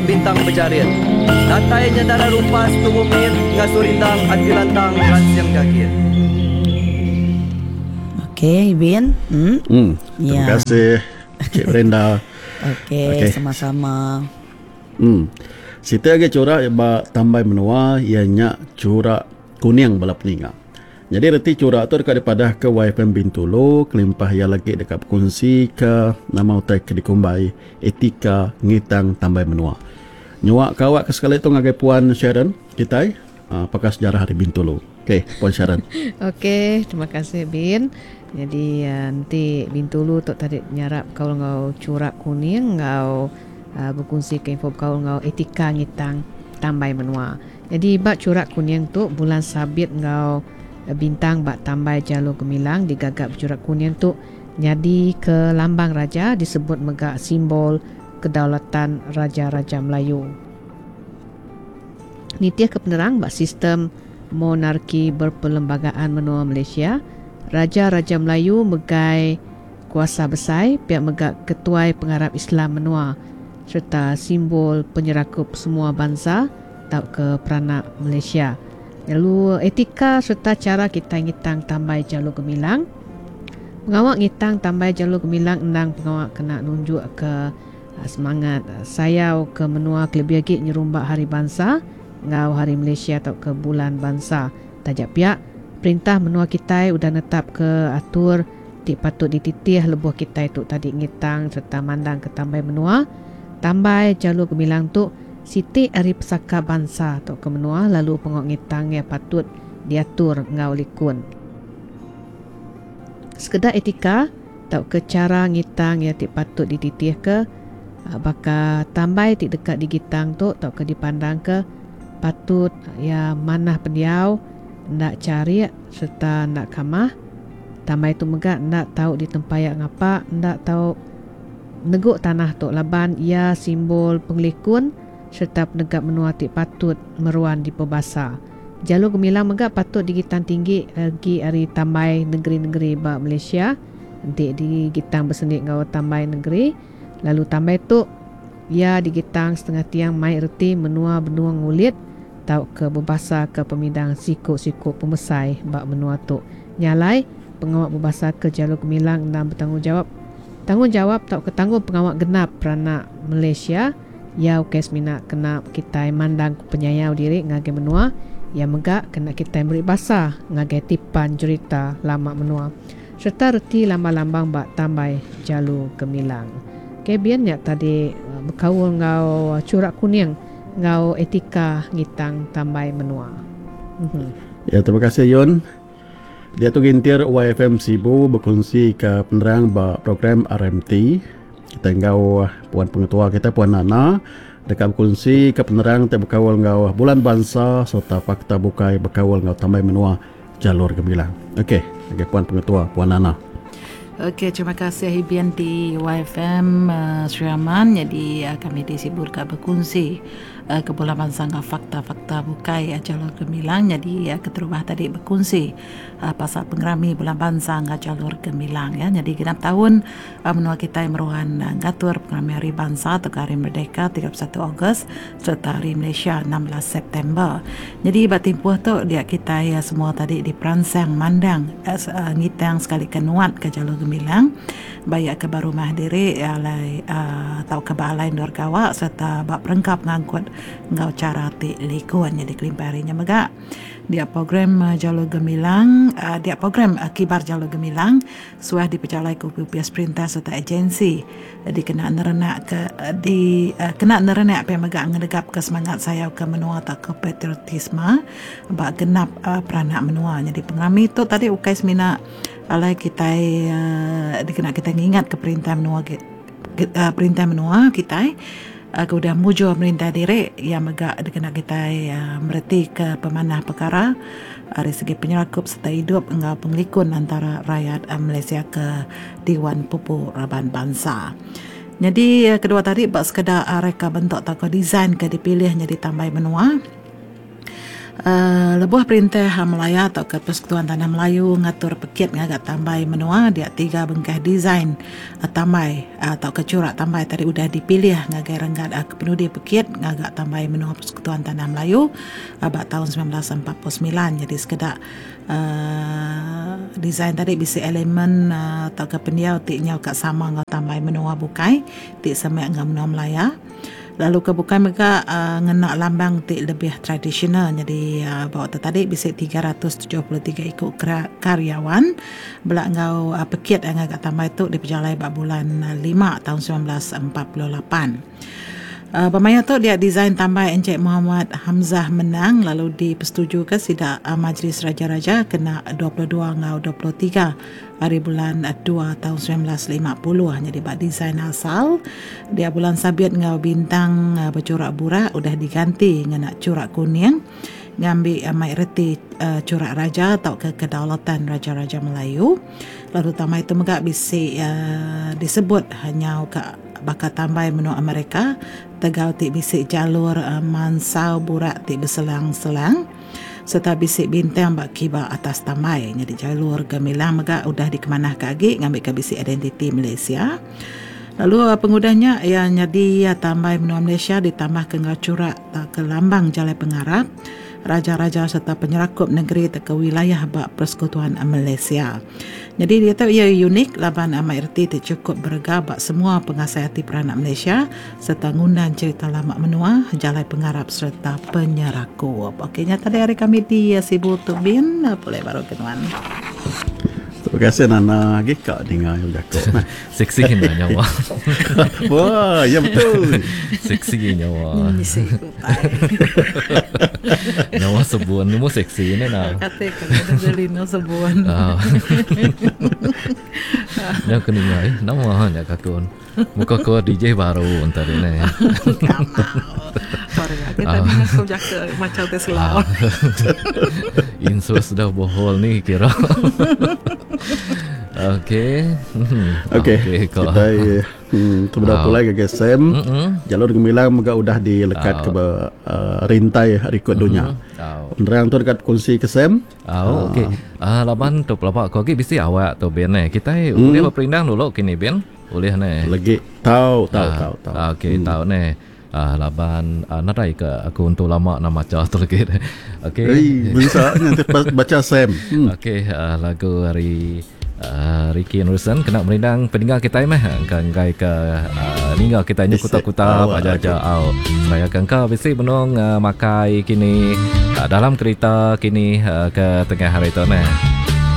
bintang bejarit. Datai nya dara rumpas tubuh mit ngasuh rindang ati lantang ransing gagit. Okey Ibin. Hmm. Hmm. Terima ya. kasih Cik Brenda. Okey, okay. sama-sama. Hmm. Siti agi chura ba tambai menua iya nya chura kuning bala peninga. Nyadi reti chura tu deka dipadahka YFM Bintulu kelimpah iya lagi deka bekunsika nama utai ke dikumbai etika ngitang tambai menua. Nyua ke awak ke sekali tu ngagai Puan Sharon kitai pakar sejarah ari Bintulu. Okey, Puan Sharon. Okey, terima kasih Bin. Nyadi enti Bintulu tu tadi nyarap bekaul enggau chura kuning enggau bekunsika info bekaul enggau etika ngitang tambai menua. Nyadi ba churak kuning tu bulan sabit enggau bintang ba tambai Jalur Gemilang digaga bechurak kuning tu nyadi ke lambang raja disebut mega simbol kedaulatan Raja-raja Melayu. Nitihka penerang ba sistem monarki berperlembagaan menua Malaysia, Raja-raja Melayu megai kuasa besai pia mega ketuai pengarap Islam menua sereta simbol penyerakup semua bansa tauka peranak Malaysia. Lalu etika sereta chara kitai ngitang tambai Jalur Gemilang. Pengawa ngitang tambai Jalur Gemilang endang pengawa kena nunjukka semangat sayau ke menua kelebih agi nyerumba Hari Bansa enggau Hari Malaysia tauka Bulan Bansa. Taja pia, perintah menua kitai udah netapka atur ti patut dititih lebuh kitai tu tadi ngitang sereta mandangka tambai menua. Tambai Jalur Gemilang tu Siti ari pesaka bansa tauka menua lalu pengawa ngitang iya patut diatur enggau likun. Sekeda etika tauka chara ngitang iya ti patut dititihka baka tambai ti deka digitang tu tauka dipandangka patut iya manah pendiau, enda charik sereta enda kamah. Tambai tu mega enda tau ditempaya ngapa, enda tau. Negu tanah tu laban iya simbol pengelikun sereta penegap menua ti patut meruan dipebasa. Jalur Gemilang mega patut digitang tinggi agi ari tambai nengeri-nengeri ba Malaysia enti digitang besendi enggau tambai nengeri lalu tambai tu iya digitang setengah tiang mai reti menua benung ngulit tauka bebasaka pemidang siku-siku pemesai ba menua tu. Nya alai, pengawa bebasaka Jalur Gemilang endang betanggungjawap Tanggungjawap tauka tanggung pengawa genap peranak Malaysia iya ukai semina kena kitai mandang penyayau diri ngagai menua, iya mega kena kitai meri basa ngagai tipan jerita lama menua sereta reti lambang-lambang ba tambai Jalu Gemilang. Kebin nya tadi bekaul enggau churak kuning enggau etika ngitang tambai menua. Ya terima kasih Yun. Diatu gintir YFM Sibu bekunsi ke penerang ba program RMT. Kita enggau Puan Pengetua kita Puan Nana deka bekunsi ke penerang ti bekaul enggau Bulan Bansa sereta fakta bukai bekaul enggau tambai menua Jalur Gemilang. Okey, ngagai Puan Pengetua Puan Nana. Okey, terima kasih Ibian di YFM Sri Aman. Jadi kami di Sibu deka bekunsi Ke bula bansa enggau fakta-fakta bukai Jalur Gemilang nyadi keterubah tadi bekunsi pasal pengerami bulan bansa enggau Jalur Gemilang ya. Nyadi genap taun menua kitai meruan ngatur pengerami Hari Bansa tauka Hari Merdeka 31 Ogos sereta Hari Malaysia 16 September. Nyadi ba timpuh tu dia kitai semua tadi diperansang mandang ngitang sekalika nuatka Jalur Gemilang. Ba iya ke ba rumah diri alai tauka ba alai endur gawa sereta ba perengka pengangkut enggau chara ti likun. Nyadi kelimpah ari nya mega dia program Jalur Gemilang dia program Kibar Jalur Gemilang suah dipejalaika opis perintah sereta agensi dikena nerenak ke di kena nerenak pia mega ngenegapka semangat sayau ke menua tauka patriotisme ba genap peranak menua. Nyadi pengerami tu tadi ukai semina Alai kitai dikena kitai ngingatka perintah menua perintah menua kitai ke udah mujur merintah diri iya mega dikena kitai meretika pemanah pekara ari segi penyerakup sereta idup enggau pengelikun antara rayat Malaysia ke diwan pupu raban bansa. Nyadi kedua tadi ba sekeda reka bentuk tauka design ke dipilih nyadi tambai menua. Lebuh perintah Malaya tauka Persekutuan Tanah Melayu ngatur pekit ngaga tambai menua dia tiga bengkah design tambai tauka churak tambai tadi udah dipilih ngagai renggat kepenudi pekit ngaga tambai menua Persekutuan Tanah Melayu ba taun 1949 nyadi sekeda design tadi bisi elemen tauka pendiau ti nyau ka sama enggau tambai menua bukai ti semak enggau menua Malaya. Lalu ke bukai mega ngena lambang ti lebih tradisional nyadi ba waktu tadi bisi 373 iku karyawan bela enggau pekit ngaga tambai tu dipejalai ba bulan lima taun 1948. Ba maya tu dia design tambai Encik Mohamad Hamzah menang lalu dipesetujuka sida Majlis Raja-Raja kena 22 enggau 23 Ari bulan dua taun 1950 nyadi ba design asal dia bulan sabit enggau bintang bechurak burak udah diganti ngena churak kuning ngambi mai reti churak raja tauka kedaulatan Raja-Raja Melayu. Lalu tambai tu mega bisi disebut nyau ka baka tambai menua Amerika tegal ti bisi jalur mansau burak ti beselang-selang. Sereta bisi bintang ba kiba atas tambai. Nyadi jalur gemilang mega udah dikemanahka agi ngambika bisi identiti Malaysia. Lalu pengudah nya iya nyadi tambai menua Malaysia ditambahka enggau churak tauka lambang jalai pengarap, raja-raja sereta penyerakup negeri tauka wilayah ba Persekutuan Malaysia. Nyadi diatu iya unik laban amai reti ti chukup berega ba semua pengasai ati peranak Malaysia sereta ngundan cherita lama menua, jalai pengarap sereta penyerakup. Okey nya tadi ari kami di Sibu tu bin pulai baru ke nuan. Terima kasih Nana agi ka ninga iya bejaku. Seksi enda nyawa. Wah, ya betul. Seksi nyawa. Bisi utai. Nyawa sebun nemu seksi ne na. Kate ke Angelina sebun. Ah. Nya ke ninga eh nama nya ka kun. Muka ko DJ baru enta di ne. Kamau. Baru kita ninga ko jaka macam te selau. Insus dah bohol ni kira. Okey. Okey. Okay, kita hmm, tu benda pulai ke Sam. Jalur gemilang mega udah dilekat ke ba uh, rintai rekod dunya. Penerang tu dekat kongsi ke Sam. Oh, okey. Ah laban tu pelaba ko agi bisi awak tu bin eh. Kita boleh berperindang dulu kini bin. Ulih neh. Legi tau tau tau tau. Okey tau neh. Ah laban ah, nadai ke aku entu lama nak macha tu lagi. Okey. Ei, bisa nya ti baca Sam. Hmm. Okey, ah, lagu ari ah, Ricky Anderson kena merindang peninggal kitai meh engka enggai ke ah, ninggal kitai nyu kuta-kuta aja-aja au. Seraya ke engka bisi benung ah, makai kini ah, dalam kerita kini ah, ke tengah hari tu neh.